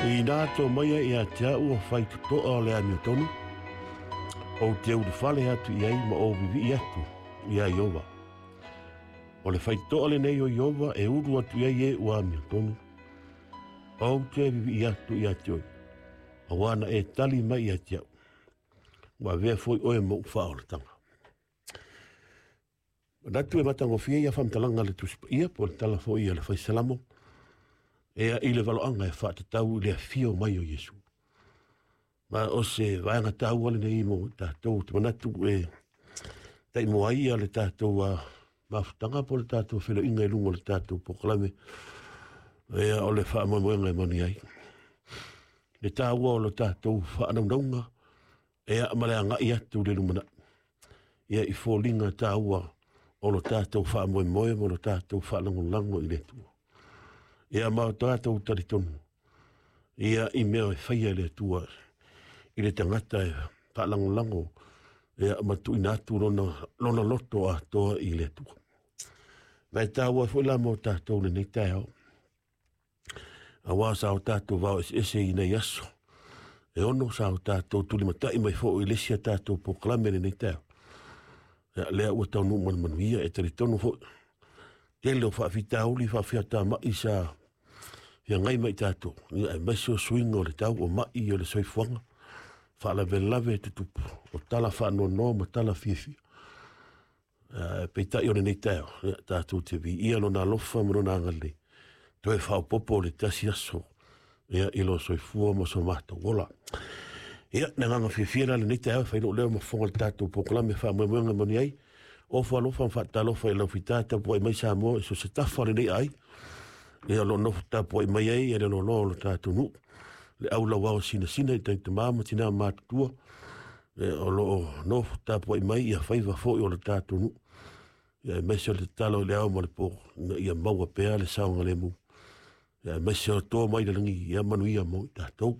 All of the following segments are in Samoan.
Inā tō maia ia te au o whaitotoa o le amiotonu, ou te ulufale atu i ai ma ou vivii atu iā Ieova. O le faitotoa lenei o Ieova e ulu atu i ai e ua amiotonu, ou te vivii atu ia te oe, auā na e tali mai ia te au, ua avea foi oe ma ou faaolataga. Manatu e matagofie ia faamatalaga a le Tusi Paia po o le tala foi a le Fai Salamo ea i le valoaga e faatatau i le afio mai o Iesu. Ma o se vaega taua lenei mo tatou te manatu e taimua ai ia le tatou mafutaga po o le tatou feiloaiga i luga o le tatou polokalame ea o le faamoemoega e manuia ai. Le taua o le tatou faanaunauga ea ma le agai atu i le lumanai. Ia i foliga taua o lo tatou faamoemoe ma lo tatou faalagolago i le Atua. Ia ma o tatou talitonu ia i mea e faia e le Atua i le tagata e faalagolago ia ma tuuina atu lona loto atoa i le Atua. Ma e taua foi la mo tatou lenei taeao. Auā sa o tatou vao eseese i nei aso. E ono sa o tatou tulimatai mai foi i le isi a tatou polokalame i lenei taeao. Ia, lea ua taunuu ma le manuia, e talitonu foi, tele o faafitauli faafiatamai sa feagai ma i tatou, ia, aemaise o suiga o le tau o mai o le soifuaga, faalavelave e tutupu, o tala faanoanoa ma tala fiafia. Peitai o lenei taeao, ia, tatou te viia lona alofa ma lona agalelei, toe faaopoopo le tasi aso ia, i lo soifua ma so matou ola. Ia, le agaga fiafia la lenei taeao, e fai lou leo ma fofoga le tatou polokalame faamoemoega manuia ai. Ofo alofa ma faatalofa i lau fita tapuai mai Samoa i so se tafa o lenei ai. Ia, o lo o nofo tapuai mai ai e le loaloa o lo tatou nuu. Le au lauao sinasina i tama ma tina matutua. O lo o nofo tapuai mai ia faiva foi o le tatou nuu. Ia, aemaise o le tatalo i le ao ma le po, ina ia maua pea le saogalemu. Ia, aemaise o toa mai le lagi, ia manuia mo i tatou.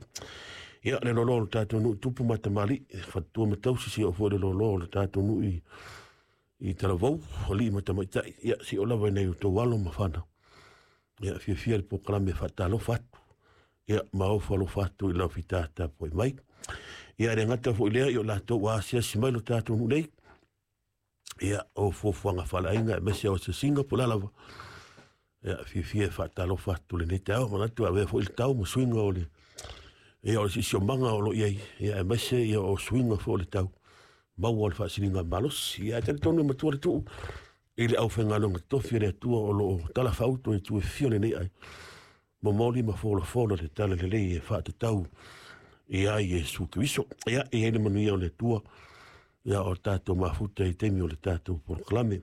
Ia, le loaloa o le tatou nuu tupu ma tamalii, faletua ma tausi, si oo foi le loaloa o le tatou nuu i Talavou, alii ma tamaitai, ia, si oo lava i nai outou alo ma fanau. Ia, fiafia le polokalame e faatalofa atu. Ia, ma ofo alofa atu i lau fita tapuai mai. Ia, le gata foi lea, i o latou ua asiasi mai lo tatou nuu nei. Ia, o fuafuaga faaleaiga, aemaise o asiasiga po o le a lava. Ia, fiafia e faatalofa atu lenei taeao, manatu e avea foi le tau ma suiga o le, ia, o le siosiomaga o lo o i ai, ia, aemaise ia, o suiga foi o le tau, maua o le faasiligamalosi. Ia, ae talitonu e matua le tuu i le aufaigaluega totofi a le Atua o lo o talafaauto i itu e fia o lenei ai. Momoli ma folafola le tala lelei e faatatau ia Iesu Keriso. Ia, e i ai le manuia o le Atua, ia o tatou mafuta i taimi o le tatou polokalame.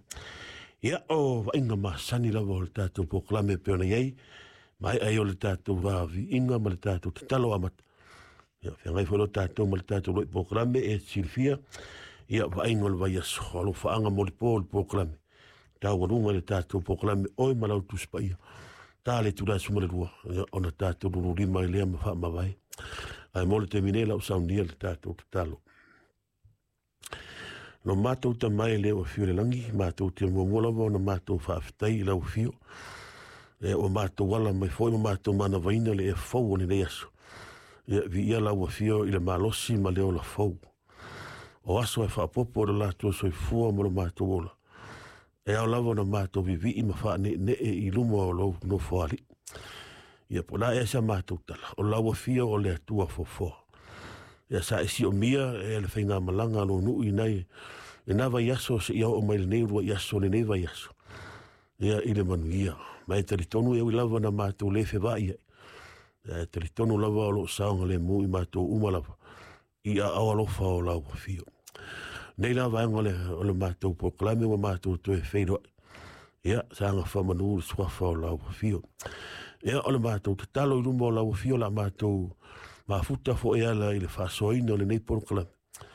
Ia, o vaaiga masani lava o le tatou polokalame e pei ona i ai, maea ai o le tatou vaviiga ma le tatou tatalo amata. Ia, feagai foi lo tatou ma le tatou loi polokalame e silafia, ia, vaaiga o le vaiaso, alofaaga mo le po o le polokalame. Taualuga i le tatou polokalame oe ma lau Tusi Paia. Ta le itula e 12, ia, ona tatou lululima ai lea ma faamavae. Ae mo le taimi nei lau saunia le tatou tatalo. Lo matou Tama e le o afio i le lagi, matou te muamua lava ona matou faafetai i lau afio. E ua matou ala mai foi ma matou manavaina le ea fou o lenei aso. Ia, viia lau afio i le malosi ma le ola fou. O aso e faaopoopo o le latou soifua ma lo matou ola. E ao lava ona matou vivii ma faaneenee i luma o lou nofoalii. Ia po o le a ea sa matou tala, o lau afio o le Atua foafoa. Ia sa e siomia e le faigamalaga a lou nuu i nai i nā vaiaso seia oo mai lenei uluai aso lenei vaiaso. Ia i le manuia. Ma e talitonu e ui lava na matou le fevaai ai. Ia e talitonu lava o lo o saogalemu i matou uma lava i aao alofa o lau afio. Nei la vaega o le matou polokalame ua matou toe feiloai. Ia, saga faamanu le suafa o lau afio. Ia, o le matou tatalo i luma o lau afio la matou mafuta foi ala i le faasoaina o lenei polokalame.